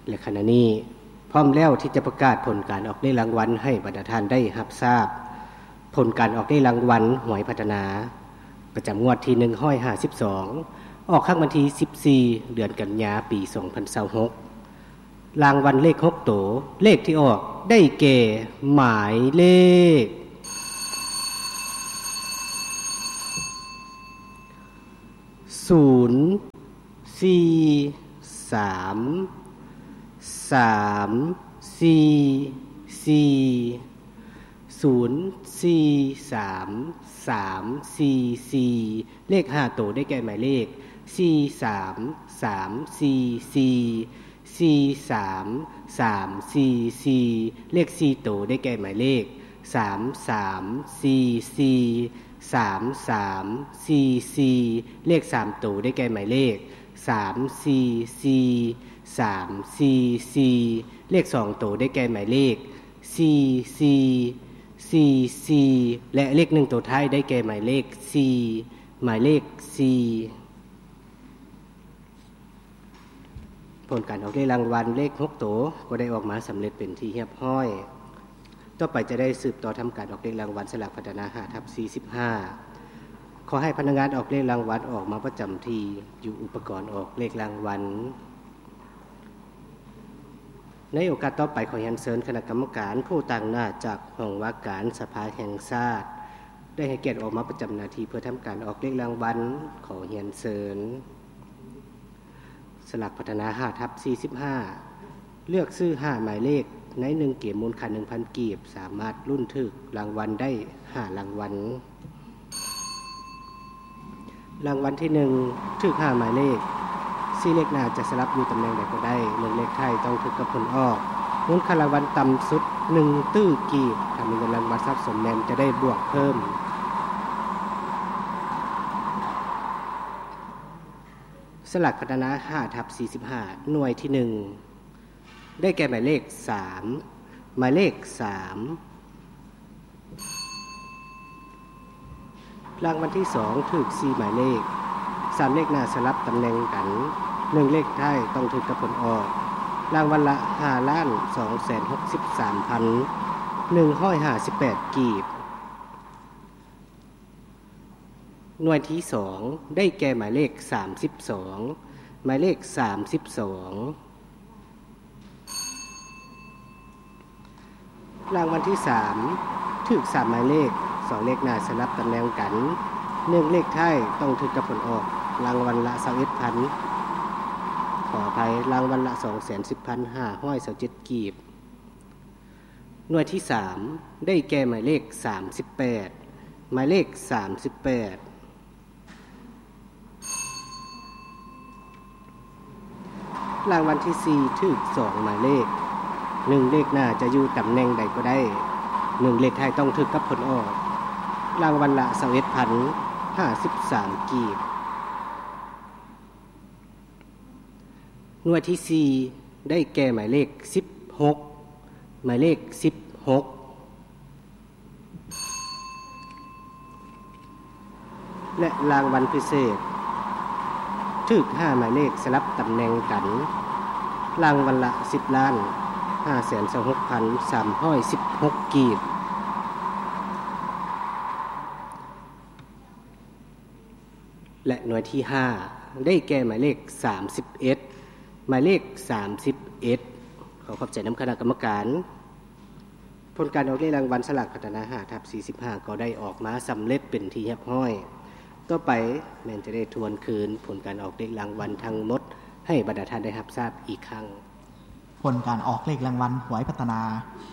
ແລະ ຂະນະນີ້ພ້ອມແລ້ວທີ່ຈະປະກາດຜົນການອອກເລກລາງວັນໃຫ້ບັນດາທ່ານໄດ້ຮັບຊາບ. ຜົນການອອກເລກລາງວັນຫວຍພັດທະນາ ປະຈຳງວດທີໜຶ່ງຮ້ອຍຫ້າສິບສອງ ອອກຄັ້ງວັນທີສິບສີ່ ເດືອນກັນຍາ ປີສອງພັນຊາວຫົກ. ລາງວັນເລກຫົກໂຕ ເລກທີ່ອອກໄດ້ແກ່ ໝາຍເລກ ສູນ ສີ່ ສາມ ສາມ ສີ່ ສີ່ ສູນ ສີ່ ສາມ ສາມ ສີ່ ສີ່. ເລກຫ້າໂຕໄດ້ແກ່ໝາຍເລກ ສີ່ ສາມ ສາມ ສີ່ ສີ່ ສີ່ ສາມ ສາມ ສີ່ ສີ່. ເລກສີ່ໂຕໄດ້ແກ່ໝາຍເລກ ສາມ ສາມ ສີ່ ສີ່ ສາມ ສາມ ສີ່ ສີ່. ເລກສາມໂຕໄດ້ແກ່ໝາຍເລກ ສາມ ສີ່ ສີ່ ສາມ ສີ່ ສີ່. ເລກສອງໂຕໄດ້ແກ່ໝາຍເລກ ສີ່ ສີ່ ສີ່ ສີ່ ແລະ ເລກໜຶ່ງໂຕທ້າຍໄດ້ແກ່ໝາຍເລກ ສີ່ ໝາຍເລກ ສີ່. ຜົນການອອກເລກລາງວັນເລກຫົກໂຕກໍໄດ້ອອກມາສຳເລັດເປັນທີ່ຮຽບຮ້ອຍ. ຕໍ່ໄປຈະໄດ້ສືບຕໍ່ທຳການອອກເລກລາງວັນສະຫຼາກພັດທະນາ ຫ້າທັບສີ່ສິບຫ້າ. ຂໍໃຫ້ພະນັກງານອອກເລກລາງວັນອອກມາປະຈຳທີ່ຢູ່ອຸປະກອນອອກເລກລາງວັນ. ໃນໂອກາດຕໍ່ໄປ ຂໍຮຽນເຊີນຄະນະກຳມະການຜູ້ຕາງໜ້າຈາກຫ້ອງວ່າການສະພາແຫ່ງຊາດ ໄດ້ໃຫ້ກຽດອອກມາປະຈຳໜ້າທີ່ເພື່ອທຳການອອກເລກລາງວັນ. ຂໍຮຽນເຊີນ. ສະຫຼາກພັດທະນາ ຫ້າທັບສີ່ສິບຫ້າ ເລືອກຊື້ຫ້າໝາຍເລກໃນໜຶ່ງເກມມູນຄ່າໜຶ່ງພັນກີບ ສາມາດລຸ້ນຖືກລາງວັນໄດ້ຫ້າລາງວັນ. ລາງວັນທີໜຶ່ງ ຖືກຫ້າໝາຍເລກ ສີ່ເລກໜ້າຈະສະຫຼັບຢູ່ຕຳແໜ່ງໃດກໍໄດ້ ໜຶ່ງເລກທ້າຍຕ້ອງຖືກກັບຜົນອອກ. ມູນຄ່າລາງວັນຕ່ຳສຸດໜຶ່ງຕື້ກີບ. ຖ້າມີເງິນລາງວັນສະສົມແມ່ນຈະໄດ້ບວກເພີ່ມ. ສະຫຼາກພັດທະນາ ຫ້າທັບສີ່ສິບຫ້າ ໜ່ວຍທີໜຶ່ງ ໄດ້ແກ່ໝາຍເລກສາມ ໝາຍເລກສາມ. ລາງວັນທີສອງ ຖືກສີ່ໝາຍເລກ ສາມເລກໜ້າສະຫຼັບຕຳແໜ່ງກັນ ໜຶ່ງເລກທ້າຍຕ້ອງຖືກກັບຜົນອອກ. ລາງວັນລະ ຫ້າລ້ານສອງແສນຫົກສິບສາມພັນໜຶ່ງຮ້ອຍຫ້າສິບແປດກີບ. ໜ່ວຍທີສອງ ໄດ້ແກ່ໝາຍເລກສາມສິບສອງ ໝາຍເລກສາມສິບສອງ. ລາງວັນທີສາມ ຖືກສາມໝາຍເລກ ສອງເລກໜ້າສະຫຼັບຕຳແໜ່ງກັນ ໜຶ່ງເລກທ້າຍຕ້ອງຖືກກັບຜົນອອກ. ລາງວັນລະຊາວເອັດພັນ ຂໍອະໄພ ລາງວັນລະສອງແສນສິບພັນຫ້າຮ້ອຍຊາວເຈັດກີບ. ໜ່ວຍທີສາມ ໄດ້ແກ່ໝາຍເລກສາມສິບແປດ ໝາຍເລກສາມສິບແປດ. ລາງວັນທີສີ່ ຖືກສອງໝາຍເລກ ໜຶ່ງເລກໜ້າຈະຢູ່ຕຳແໜ່ງໃດກໍໄດ້ ໜຶ່ງເລກທ້າຍຕ້ອງຖືກກັບຜົນອອກ. ລາງວັນລະຊາວເອັດພັນຫ້າສິບສາມກີບ. ໜ່ວຍທີສີ່ ໄດ້ແກ່ໝາຍເລກສິບຫົກ ໝາຍເລກສິບຫົກ. ແລະ ລາງວັນພິເສດ ຖືກຫ້າໝາຍເລກສະຫຼັບຕຳແໜ່ງກັນ ລາງວັນລະສິບລ້ານຫ້າແສນຊາວຫົກພັນສາມຮ້ອຍສິບຫົກກີບ. ແລະ ໜ່ວຍທີຫ້າ ໄດ້ແກ່ໝາຍເລກສາມສິບເອັດ ໝາຍເລກສາມສິບເອັດ. ຂໍຂອບໃຈນຳຄະນະກຳມະການ. ຜົນການອອກເລກລາງວັນສະຫຼາກພັດທະນາ ຫ້າທັບສີ່ສິບຫ້າ ກໍໄດ້ອອກມາສຳເລັດເປັນທີ່ຮຽບຮ້ອຍ. ຕໍ່ໄປແມ່ນຈະໄດ້ທວນຄືນຜົນການອອກເລກລາງວັນທັງໝົດ ໃຫ້ບັນດາທ່ານໄດ້ຮັບຊາບອີກຄັ້ງ. ຜົນການອອກເລກລາງວັນຫວຍພັດທະນາ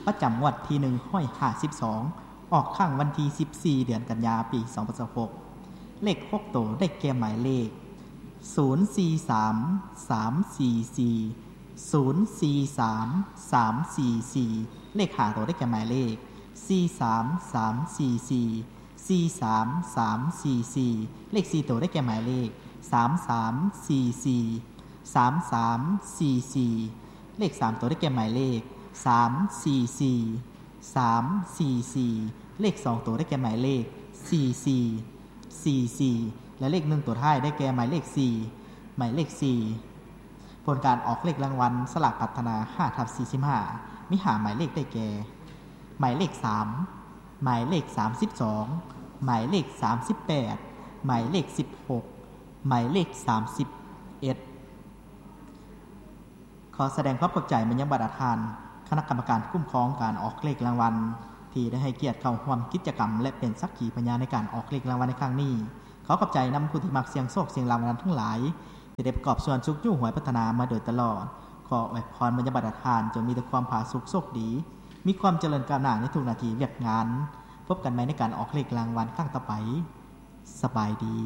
ປະຈຳງວດທີໜຶ່ງຮ້ອຍຫ້າສິບສອງ ອອກຄັ້ງວັນທີສິບສີ່ ເດືອນກັນຍາ ປີສອງພັນຊາວຫົກ. ເລກຫົກໂຕໄດ້ແກ່ໝາຍເລກ ສູນສີ່ສາມ ສາມສີ່ສີ່ ສູນສີ່ສາມ ສາມສີ່ສີ່. ເລກຫ້າໂຕໄດ້ແກ່ໝາຍເລກ ສີ່ສາມ ສາມສີ່ສີ່ ສີ່ສາມ ສາມສີ່ສີ່. ເລກສີ່ໂຕໄດ້ແກ່ໝາຍເລກ ສາມສາມສີ່ສີ່ ສາມສາມສີ່ສີ່. ເລກສາມໂຕໄດ້ແກ່ໝາຍເລກ ສາມສີ່ສີ່ ສາມສີ່ສີ່. ເລກສອງໂຕໄດ້ແກ່ໝາຍເລກ ສີ່ສີ່ ສີ່ສີ່ ແລະ ເລກໜຶ່ງໂຕທ້າຍໄດ້ແກ່ໝາຍເລກສີ່ ໝາຍເລກສີ່. ຜົນການອອກເລກລາງວັນສະຫຼາກພັດທະນາ ຫ້າທັບສີ່ສິບຫ້າ ມີຫ້າໝາຍເລກໄດ້ແກ່ ໝາຍເລກສາມ, ໝາຍເລກສາມສິບສອງ, ໝາຍເລກສາມສິບແປດ, ໝາຍເລກສິບຫົກ, ໝາຍເລກສາມສິບເອັດ. ຂໍສະແດງຄວາມຂອບໃຈມາຍັງບັນດາທ່ານຄະນະກຳມະການຄຸ້ມຄອງການອອກເລກລາງວັນ ທີ່ໄດ້ໃຫ້ກຽດເຂົ້າຮ່ວມກິດຈະກຳ ແລະ ເປັນສັກຂີພະຍານໃນການອອກເລກລາງວັນໃນຄັ້ງນີ້. ຂໍຂອບໃຈນຳຜູ້ທີ່ມັກສ່ຽງໂຊກສ່ຽງລາງວັນທັງຫຼາຍ ທີ່ໄດ້ປະກອບສ່ວນຊຸກຍູ້ຫວຍພັດທະນາມາໂດຍຕະຫຼອດ. ຂໍອວຍພອນມາຍັງບັນດາທ່ານ ຈົ່ງມີແຕ່ຄວາມຜາສຸກໂຊກດີ, ມີຄວາມຈະເລີນກ້າວໜ້າໃນທຸກໜ້າທີ່ວຽກງານ. ພົບກັນໃໝ່ໃນການອອກເລກລາງວັນຄັ້ງຕໍ່ໄປ. ສະບາຍດີ.